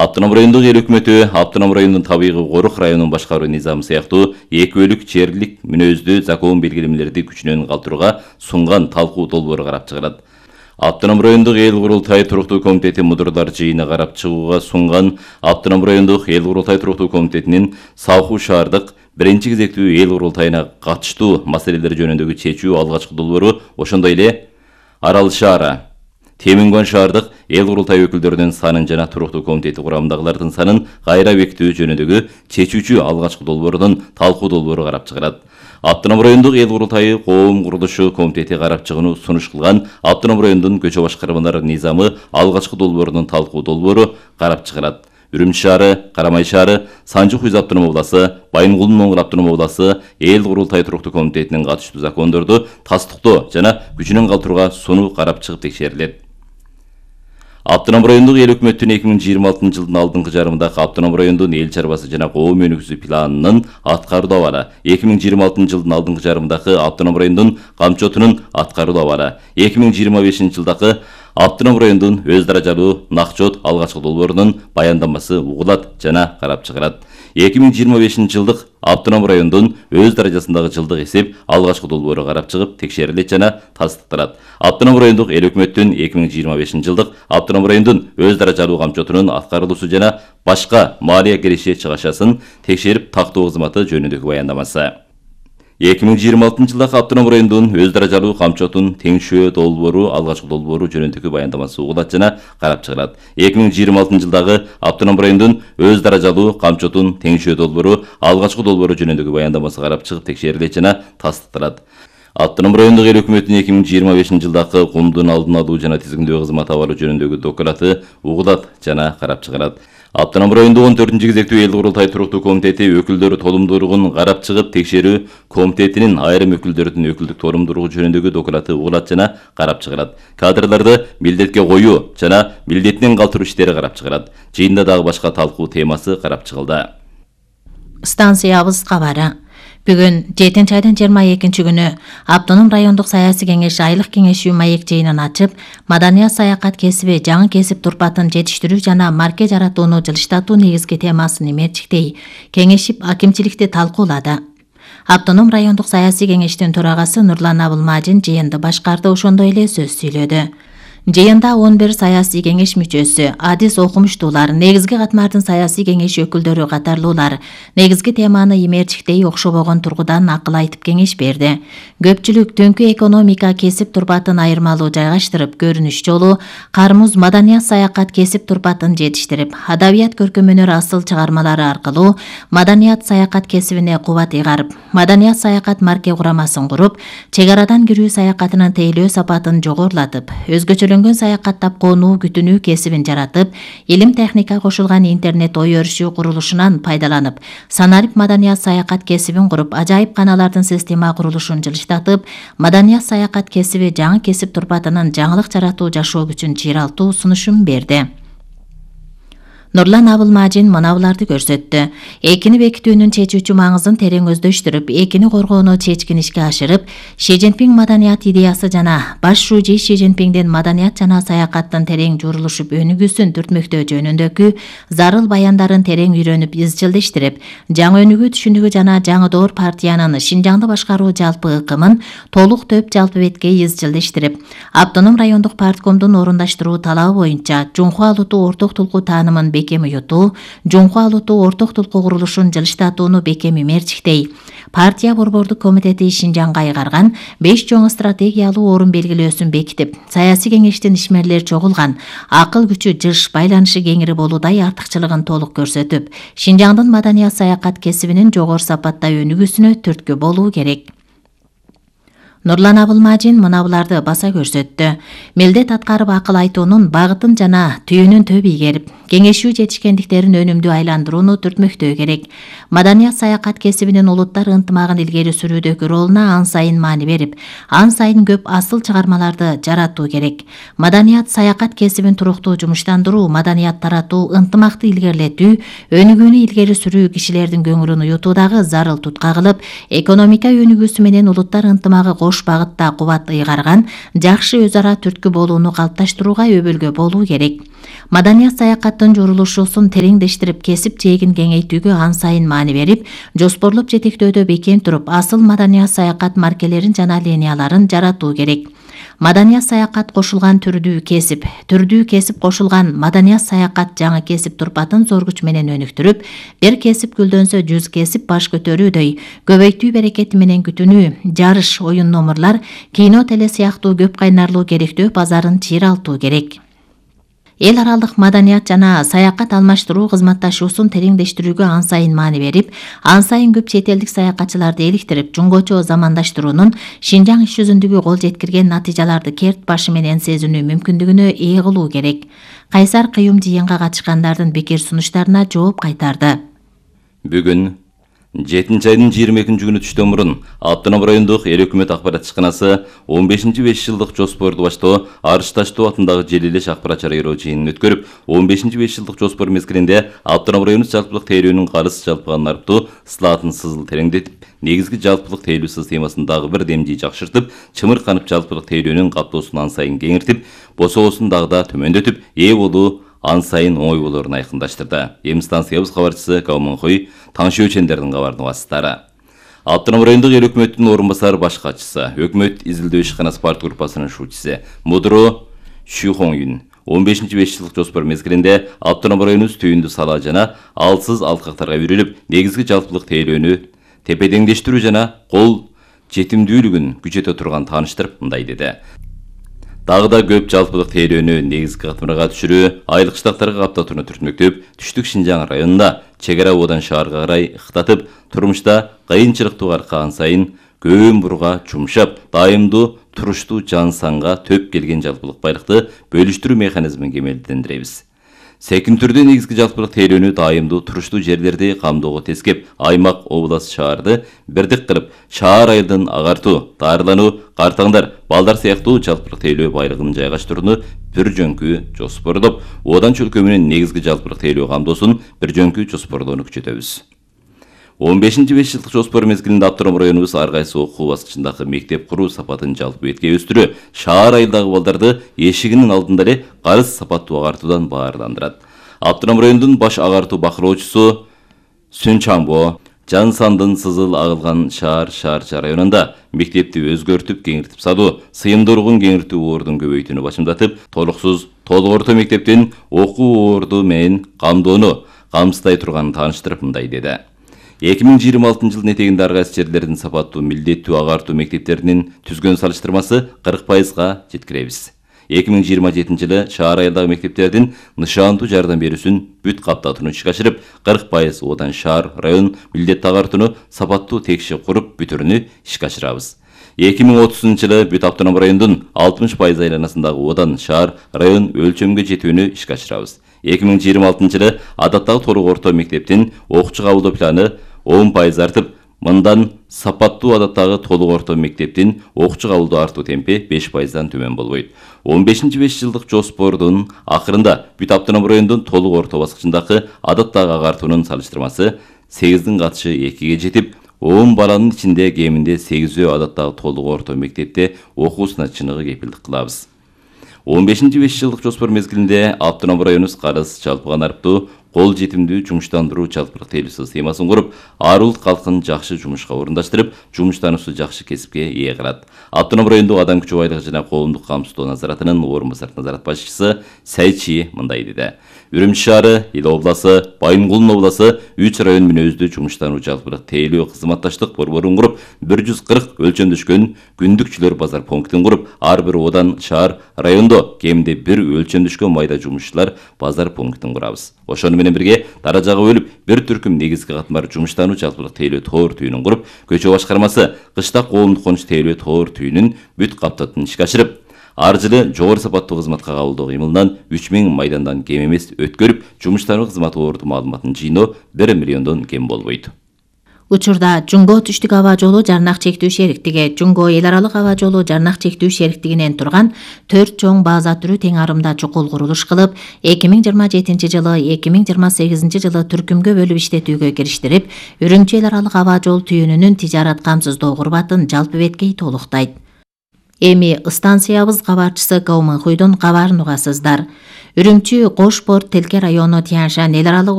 Автоном райондук эл өкмөтү автоном райондун табигый корук районун башкаруу низамы сыяктуу экөөлүк жерлик мүнөздүү закон белгилемелерди күчүнөн калтырууга сунган талкуу долбоору карап чыгарат. Автоном райондук эл курултай туруктуу комитети мудурлар жыйыны карап чыгууга сунган Автоном райондук эл курултай туруктуу комитетинин Саахуу шаардык биринчи кезектүү эл курултайына катыштуу маселелер жөнүндөгү чечүү алгачкы долбоору, ошондой эле Арал шаары, Темингон шаардык эл курултай өкүлдөрүнүн санын жана туруктуу комитети курамындагылардын санын кайра бекитүү жөнүндөгү чечүүчү алгачкы долбоорунун талкуу долбоору карап чыгарат. Автоном райондук эл курултайы коом курулушу комитети карап чыгууну сунуш кылган Автоном райондун көчө башкармалар низамы алгачкы долбоорунун талкуу долбоору карап чыгарат. Үрүмчү шаары, Карамай шаары, Санжы Хуйз автоном обласы, Байынгулдун Оңгур автоном обласы эл курултай туруктуу комитетинин катыштуу закондорду тастыктоо жана күчүнөн калтырууга сунуу карап чыгып текшерилет. Автоном райондук эл өкмөттүн 2026 жылдын алдыңкы жарымындагы Автоном райондун эл чарбасы жана коом өнүгүүсү планынын аткарылуу абалы, 2026 жылдын алдыңкы жарымындагы Автоном райондун камчотунун аткарылуу абалы, 2025 жылдагы Автоном райондун өз даражалуу накчот алгачкы долбоорунун баяндамасы угулат жана карап чыгарат. 2025 жылдык Автоном райондун өз даражасындагы жылдык эсеп алгачкы долбоору карап чыгып текшерилет жана тастыкталат. Автоном райондук эл өкмөттүн 2025 жылдык Автоном райондун өз даражалуу камчотунун аткарылуусу жана башка малия киреше чыгашасын текшерип тактоо кызматы жөнүндөгү баяндамасы. 2026 жылдагы Автоном райондун өз даражалуу камчотун теңшөө долбоору алгачкы долбоору жөнүндөгү баяндамасы угулат жана карап чыгарат. 2026 жылдагы Автоном райондун өз даражалуу камчотун теңшөө долбоору алгачкы долбоору жөнүндөгү баяндамасы карап чыгып текшерилет жана тастыкталат. Автоном райондук эл өкмөтүнүн 2025 жылдагы кумдун алдын алуу жана тизгиндөө кызмат абалы жөнүндөгү доклады угулат жана карап чыгарат. Автоном райондук 14 кезектүү эл курултай туруктуу комитети өкүлдөрү толумдуулугун карап чыгып текшерүү комитетинин айрым өкүлдөрүнүн өкүлдүк толумдуулугу жөнүндөгү доклады угулат жана карап чыгарат. Кадрларды милдетке коюу жана милдетинен калтыруу иштери карап чыгарат. Жыйында дагы башка талкуу темасы карап чыгылды. Станциябыз кабары. Бүгүн 7 айдын 22 күнү Автоном райондук саясий кеңеш айлык кеңешүү маек жыйынын ачып, маданият саякат кесиби жаңы кесип турпатын жетиштирүү жана марке жаратууну жылыштатуу негизги темасын имерчиктей кеңешип акимчиликти талкуулады. Автоном райондук саясий кеңештин төрагасы Нурлан Абылмажин жыйынды башкарды, ошондой эле сөз сүйлөдү. Жыйында 11 саясий кеңеш мүчөсү, адис окумуштуулар, негизги катмардын саясий кеңеш өкүлдөрү катарлуулар негизги теманы имерчиктей окшобогон тургудан акыл айтып кеңеш берди. Көпчүлүк түнкү экономика кесип турпатын айырмалуу жайгаштырып, көрүнүш жолу кармуз маданият саякат кесип турпатын жетиштирип, адабият көркөмөнөр асыл чыгармалары аркылуу маданият саякат кесибине кубат ыйгарып, маданият саякат марке курамасын куруп, чек арадан кирүү саякатынын тейлөө сапатын жогорулатып, өзгөчөлөнгөн саякаттап конуу күтүнүү кесибин жаратып, илим техника кошулган интернет ой өрүшүү курулушунан пайдаланып, санарип маданият саякат кесибин куруп, ажайып каналардын система курулушун жылыштатып, маданият саякат кесиби жаңы кесип турпатынын жаңылык жаратуу жашоо күчүн чыйралтуу сунушун берди. Нурлан Абылмажин мына буларды көрсөттү. Экини бекитүүнүн чечүүчү маңызын терең өздөштүрүп, экини коргоону чечкин ишке ашырып, Ши Цзиньпин маданият идеясы жана баш шужи Ши Цзиньпиндин маданият жана саякаттын терең журулушуп өнүгүүсүн түртмөктөө жөнүндөгү зарыл баяндарын терең үйрөнүп, изчилдештирип, жаңы өнүгүү түшүнүгү жана жаңы доор партиянын Шинжаңды башкаруу жалпы ыкымын толук төп жалпы бетке изчилдештирип, Автоном райондук парткомдун орундаштыруу талабы боюнча Жунхуа Алуту орток тулкуу таанымын бекем уютуу, Жунхуа Алуту орток тулкуу курулушун жылыштатууну бекем имерчиктей, партия борбордук комитети Шинжаңга ыйгарган 5 чоң стратегиялуу орун белгилөөсүн бекитип, саясий кеңештин ишмерлер чогулган, акыл күчү жыш, байланышы кеңири болуудай артыкчылыгын толук көрсөтүп, Шинжаңдын маданият саякат кесибинин жогору сапатта өнүгүүсүнө түрткү болуу керек. Нурлан Абылмажин мына буларды баса көрсөттү. Милдет аткарып акыл айтуунун багытын жана түйүнүн төп ийгерип, кеңешүү жетишкендиктерин өнүмдүү айландырууну түртмөктөө керек. Маданият саякат кесибинин улуттар ынтымагын илгери сүрүүдөгү ролуна ан сайын маани берип, ан сайын көп асыл чыгармаларды жаратуу керек. Маданият саякат кесибин туруктуу жумуштандыруу, маданият таратуу, ынтымакты илгерилетүү, өнүгүүнү илгери сүрүү кишилердин көңүлүн уютуудагы зарыл тутка кылып, экономика өнүгүүсү менен улуттар ынтымагы ош багытта кубат ыйгарган, жакшы өз ара түрткү болууну калыпташтырууга өбөлгө болуу керек. Маданият саякаттын журулушусун тереңдештирип, кесип жээгин кеңейтүүгө ан сайын маани берип, жоспорлоп жетектөөдө бекем туруп, асыл маданият саякат маркелерин жана линияларын жаратуу керек. Маданият саякат кошулган түрдүү кесип кошулган маданият саякат жаңы кесип турпатын зор күч менен өнүктүрүп, бир кесип гүлдөнсө 100 кесип баш көтөрүүдөй, көбөйтүү берекети менен күтүнүү, жарыш, оюн номурлар, кино, теле сыяктуу көп кайнарлуу керектөө базарын чыйралтуу керек. Эл аралык маданият жана саякат алмаштыруу кызматташуусун тереңдештирүүгө ан сайын маани берип, ан сайын көп чет элдик саякатчыларды иликтирип, жуңгочо замандаштыруунун Шинжаң иш жүзүндөгү кол жеткирген натыйжаларды керт башы менен сезинүү мүмкүндүгүнө ээ кылуу керек. Кайсар кыюм жыйынга катышкандардын пикир сунуштарына жооп кайтарды. Бүгүн 7-айдын 22-күнү түштөн мурун Автоном райондук эл өкмөт акпарат ишканасы 15-5 жылдык жоспорду баштоо Арыш Таштоо атындагы желилеш акпарат чарайроо жыйынын өткөрүп, 15-5 жылдык жоспор мезгилинде Автоном району жалпылык тейлөөнүн карыз жалпыган нарптуу слатын сызыл тереңдетип, негизги жалпылык тейлөө системасын дагы бир демдей жакшыртып, чымырканып жалпылык тейлөөнүн каптоосун ан сайын кеңиртип, босоосун дагы да төмөндөтүп, ээ болуу ан сайын оңой болоорун айкындаштырды. Эми станциябыз кабарчысы Кауманхой Таңшы Өчендердин кабардын васыттары. Автоном райондук эл өкмөттүн орун басар баш катчысы, өкмөт изилдөө ишканасы парт группасынын шуучусу Мудро Шухоңюн 15-5 жылдык жоспор мезгилинде Автоном районубуз түйүндү сала жана алсыз алкактарга үйрүлүп, негизги жалпылык тейлөөнү тепедеңдештирүү жана кол жетимдүүлүгүн күчөтө турган тааныштырып, мындай деди. Дагы да көп жалпылык тейлөөнү негизги катмырга түшүрүү, айлык штаттарга каптатууну түртмөктөп, түштүк Шинжаң районунда чек ара одан шаарга карай ыктатып, турмушта кыйынчылыктуу аркан сайын көөн бурга жумшап, дайымдуу туруштуу жан санга төп келген жалпылык байлыкты бөлүштүрүү механизмин кемелдендиребиз. Секин түрдө негизги жалпылык тейлөөнү дайымдуу туруштуу жерлерди камдоого тескеп, аймак, область, шаарды бирдик кылып, шаар айылдын агартуу, даарылануу, картаңдар, балдар сыяктуу жалпылык тейлөө байлыгын жайгаштырууну бир жөнкү жоспордоп, одан чөлкө менен негизги жалпылык тейлөө камдоосун бир жөнкү жоспордоону күчөтөбүз. 15-5 жылдык жоспор мезгилинде Автоном районубуз ар кайсы окуу баскычындагы мектеп куруу сапатын жалпы бетке өстүрүү, шаар айылдагы балдарды эшигинин алдында эле карыз сапаттуу агартуудан баарландырат. Автоном районунун баш агартуу бакылоочусу Сүнчамбо жан сандын сызыл агылган шаар районунда мектепти өзгөртүп, кеңиртип салуу, сыйымдуулугун кеңиртүү ордун көбөйтүүнү башымдатып, толук орто мектептин окуу орду менен камдоону камсыздай турганын тааныштырып, мындай деди. 2026 жылдын этегинде ар кайсы жерлердин сапаттуу милдеттүү агартуу мектептеринин түзгөн салыштырмасы 40%га жеткиребиз. 2027 жылы шаар айылдагы мектептердин нышандуу жардам берүүсүн бүт каптатууну ишке ашырып, 40% одан шаар, район милдеттүү агартууну сапаттуу текши куруп бүтүрүүнү ишке ашырабыз. 2030 жылы бүт Автоном райондун 60% айланасындагы одан шаар, район өлчөмгө жетүүнү ишке ашырабыз. 2026 жылы адаттагы толук орто мектептин окуучу кабылдоо планы 10% артып, мындан сапаттуу адаттагы толук орто мектептин окуучу кабылдоо артуу темпи 5%дан төмөн болбойт. 15-5 жылдык жоспордун акырында бүт Автоном райондун толук орто баскычындагы адаттагы агартуунун салыштырмасы 8-дин катышы 2-ге жетип, 10 баланын ичинде кеминде 8-өө адаттагы толук орто мектепте окуусуна чыныгы кепилдик кылабыз. 15-5 жылдык жоспор мезгилинде Автоном районубуз карыз жалпыган арыптуу кол жетимдүү жумуштандыруу жалпылык тейлөө системасын куруп, ар улут калкын жакшы жумушка орундаштырып, жумуштануусу жакшы кесипке ээ кылат. Автоном райондук адам күчү байлыгы жана коомдук камсыздоо назаратынын орун басар назарат башчысы Сайчи мындай деди. Үрүмчү шаары, Ил обласы, Байынгулдун обласы 3 район мүнөздүү жумуштануу жалпылык тейлөө кызматташтык борборун куруп, 140 өлчөмдөшкөн күндүкчүлөр базар пунктин куруп, ар бир одан шаар, райондо кеминде бир өлчөмдөшкөн майда жумушчулар базар пунктин курабыз. Ошону менен бирге даражага бөлүп, бир түркүм негизги катмар жумуштануу жалпылык тейлөө тоор түйүнүн куруп, көчө башкармасы кыштак коомдук конуш тейлөө тоор түйүнүн бүт каптатууну ишке ашырып, ар жылы жогору сапаттуу кызматка кабылдоо кыймылынан 3000 майдандан кем эмес өткөрүп, жумуштануу кызматы орду маалыматын жыйноо 1 миллиондон кем болбойт. Учурда Жуңго түштүк аба жолу жарнак чектүү шериктиги, Жуңго эл аралык аба жолу жарнак чектүү шериктигинен турган 4 чоң база түрү тең арымда чукул курулуш кылып, 2027 жылы 2028 жылы түркүмгө бөлүп иштетүүгө кириштирип, Үрүмчү эл аралык аба жол түйүнүнүн тижарат камсыздоо курбатын жалпы беткей толуктайт. Эми станциябыз кабарчысы Кауманхуйдун кабарын угасыздар. Үрүмчү Кош Порт Телке району Тянь Шань эл аралык